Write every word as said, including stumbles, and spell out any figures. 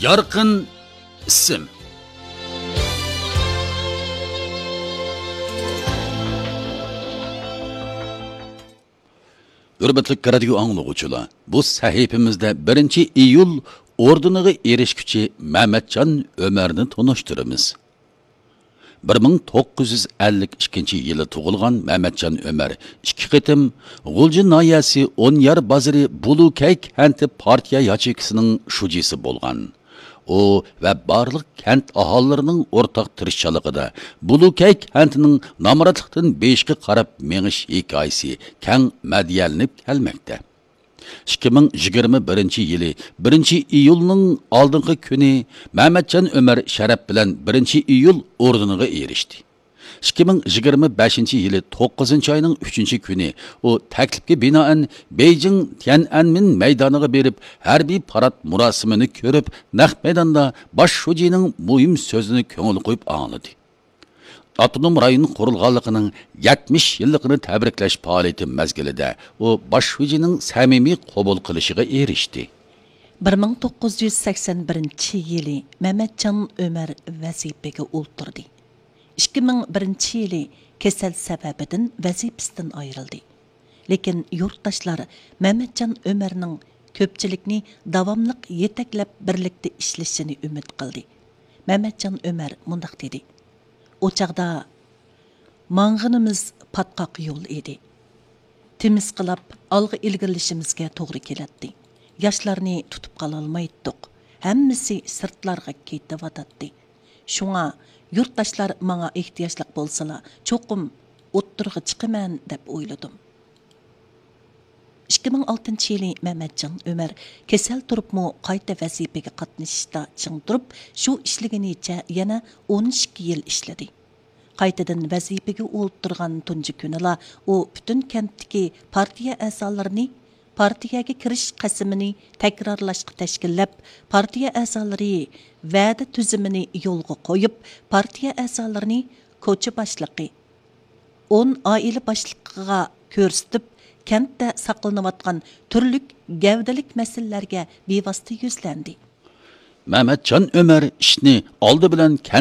يارقىن ئىسىم. ھۆرمەتلىك رادىيو ئاڭلىغۇچىلار، بۇ سەھىپىمىزدە بىرىنچى ئىيۇل ئوردېنىغا ئېرىشكۈچى مەمەتجان ئۆمەرنى تونۇشتۇرىمىز. بىر مىڭ توققۇز يۈز ئەللىك ئىككىنچى يىلى تۇغۇلغان مەمەتجان ئۆمەر ئىككى قېتىم غۇلجا ناھىيەسى ئونيار بازىرى بۇلۇكەي كەنتى پارتىيە ياچېيكىسىنىڭ شۇجىسى بولغان. ئۇ ۋە بارلىق كەنت ئاھالىلىرىنىڭ ئورتاق تىرىشچانلىقىدا بۇلۇكەي كەنتىنىڭ نامراتلىقتىن بېيىشقا قاراپ مېڭىش ھېكايىسى كەڭ مەدھىيەلىنىپ كەلمەكتە. ئىككى مىڭ يىگىرمە بىرىنچى يىلى بىرىنچى ئىيۇلنىڭ ئالدىنقى كۈنى مەمەتجان ئۆمەر شەرەپ بىلەن بىرىنچى ئىيۇل ئوردېنىغا ئېرىشتى. ئىككى مىڭ يىگىرمە بەشىنچى يىلى توققۇزىنچى ئاينىڭ ئۈچىنچى كۈنى ئۇ تەكلىپكە بىنائەن بېيجىڭ تيەنئەنمېن مەيدانىغا بېرىپ، ھەربىي پارات مۇراسىمىنى كۆرۈپ، نەق مەيداندا باش شۇجىنىڭ مۇھىم سۆزىنى كۆڭۈل قويۇپ ئاڭلىدى. ئاپتونوم رايون قۇرۇلغانلىقىنىڭ يەتمىش يىللىقىنى تەبرىكلەش پائالىيىتى مەزگىلىدە ئۇ باش شۇجىنىڭ سەمىمىي قوبۇل قىلىشىغا ئېرىشتى. بىر مىڭ توققۇز يۈز سەكسەن بىرىنچى يىلى مەمەتجان ئۆمەر ۋەزىپىگە ئولتۇردى. ئىككى مىڭ بىرىنچى يىلى كېسەل سەۋەبىدىن ۋەزىپىسىدىن ئايرىلدى. لېكىن يۇرتداشلار مەمەتجان ئۆمەرنىڭ كۆپچىلىكنى داۋاملىق يېتەكلەپ، بىرلىكتە ئىشلىشىنى ئۈمىد قىلدى. مەمەتجان ئۆمەر مۇنداق دېدى: «ئۇ چاغدا ماڭغىنىمىز پاتقاق يول ئىدى. تىمىسقىلاپ ئالغا ئىلگىرىلىشىمىزگە توغرا كېلەتتى. ياشلارنى تۇتۇپ قالالمايتتۇق. ھەممىسى سىرتلارغا كېتىۋاتاتتى. شۇڭا يۇرتداشلار ماڭا ئېھتىياجلىق بولسىلا، چوقۇم ئوتتۇرىغا چىقىمەن دەپ ئويلىدىم.» ئىككى مىڭ ئالتىنچى يىلى مەمەتجان ئۆمەر كېسەل تۇرۇپمۇ قايتا ۋەزىپىگە قاتنىشىشتا چىڭ تۇرۇپ، شۇ ئىشلىگىنىچە يەنە ئون ئىككى يىل ئىشلىدى. قايتىدىن ۋەزىپىگە ئولتۇرغان تۇنجى كۈنىلا ئۇ پۈتۈن كەنتتىكى پارتىيە ئەزالىرىنى پارتىيەگە كىرىش قەسىمىنى تەكرارلاشقا تەشكىللەپ، پارتىيە ئەزالىرى ۋەدە تۈزۈمىنى يولغا قويۇپ، پارتىيە ئەزالىرىنى كوچا باشلىقى، ئون ئائىلە باشلىقىغا كۆرسىتىپ، كەنتتە ساقلىنىۋاتقان تۈرلۈك گەۋدىلىك مەسىلىلەرگە بىۋاسىتە يۈزلەندى. مەمەتجان ئۆمەر ئىشنى ئالدى بىلەن كەنت